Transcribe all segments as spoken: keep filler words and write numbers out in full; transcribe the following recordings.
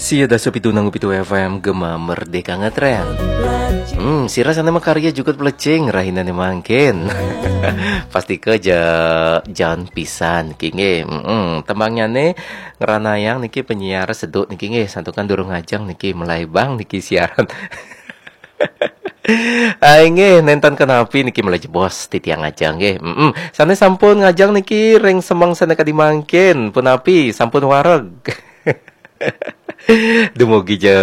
Sia dasa pitu nang pitu F M Gema Merdeka Ngetren. Hmm, sira sane makarya jukut plecing rahinane mangkin. Pasti ke ja jan pisan niki nggih. Mm-mm. Tembangnyane ngranayang niki penyiar seduk niki nggih, santukan durung ajeng niki melai bang niki siaran. Ai nggih, nenten kenapi niki melai jebos titiang ajeng nggih. Mm-mm. Sane sampun ngajeng niki ring semeng sane kadi mangkin, punapi sampun wareg. Dumugi ja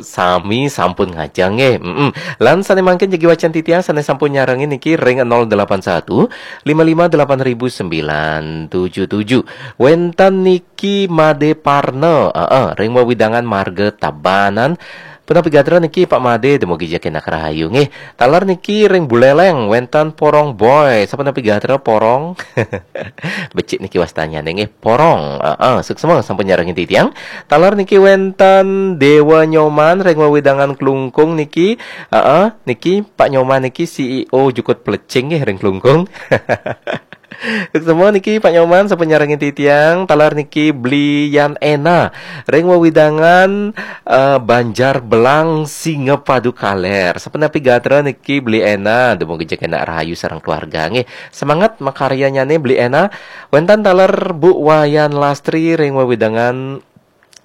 sami sampun ngajeng nggih. Mm-mm. Lan sane mangkin jagi wacan titiang sane sampun nyarengin niki ring nol delapan satu lima lima delapan ribu sembilan tujuh tujuh. Wenten niki Made Parna, heeh, ring wewidangan Marga Tabanan. Punapi gatra niki Pak Made, dumugi ja kenak rahayu nggih. Taler niki ring Buleleng wenten Porong Boy. Sapunapi gatra Porong? Becik niki wastanyane nggih, Porong. Heeh, suksma sampun nyarengin titiang. Taler niki wenten Dewa Nyoman ring wewidangan Klungkung niki. Heeh, niki Pak Nyoman niki C E O jukut plecing nggih ring Klungkung. Suksma niki Pak Nyoman sampun nyarengin titiang. Taler niki Bli Yan Ena ring wewidangan eh, Banjar Belang Singapadu Kaler. Sapunapi gatra niki Bli Ena, dumugi ja kenak rahayu sareng keluarga nggih. Semangat makaryanyane Bli Ena. Wenten taler Bu Wayan Lastri ring wewidangan,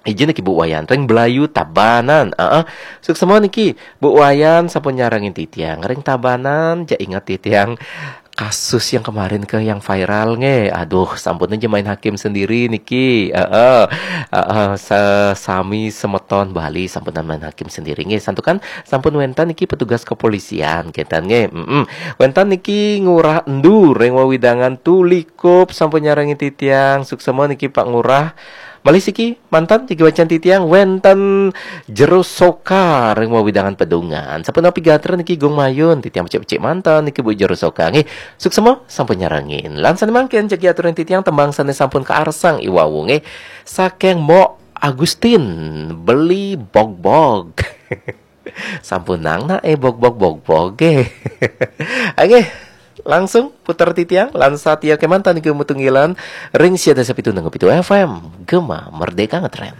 ijin niki Bu Wayan ring Belayu Tabanan. Heeh. Suksma niki Bu Wayan sampun nyarengin titiang ring Tabanan, ja inget titiang kasus yang kemarin ke yang viral nggih. Aduh, sampun aja main hakim sendiri niki. Heeh. Heeh, sesami semeton Bali sampun main hakim sendiri nggih. Santukan sampun wenten niki petugas kepolisian kenten nggih. Mm-mm. Wenten niki Ngurah Endu ring wewidangan Tulikup sampun nyarengin titiang. Suksma niki Pak Ngurah. Malih siki manten jagi wacan titiang wenten Jero Soka ring wewidangan Pedungan. Sapunapi gatra niki Gung Mayun, titiang becik-becik manten niki Bu Jero Soka nggih. Suksma sampun nyarengin. Lan sane mangkin jagi aturin titiang tembang sane sampun kaarsang iwau nggih. Saking Mok Agustin, Beli Bogbog. Sampun nang nak eh bogbog bogbog nggih. Nggih, langsung puter titiang lan satia kemanten niki matunggilan ring sia dasa pitu nang pitu F M Gema Merdeka Ngetren.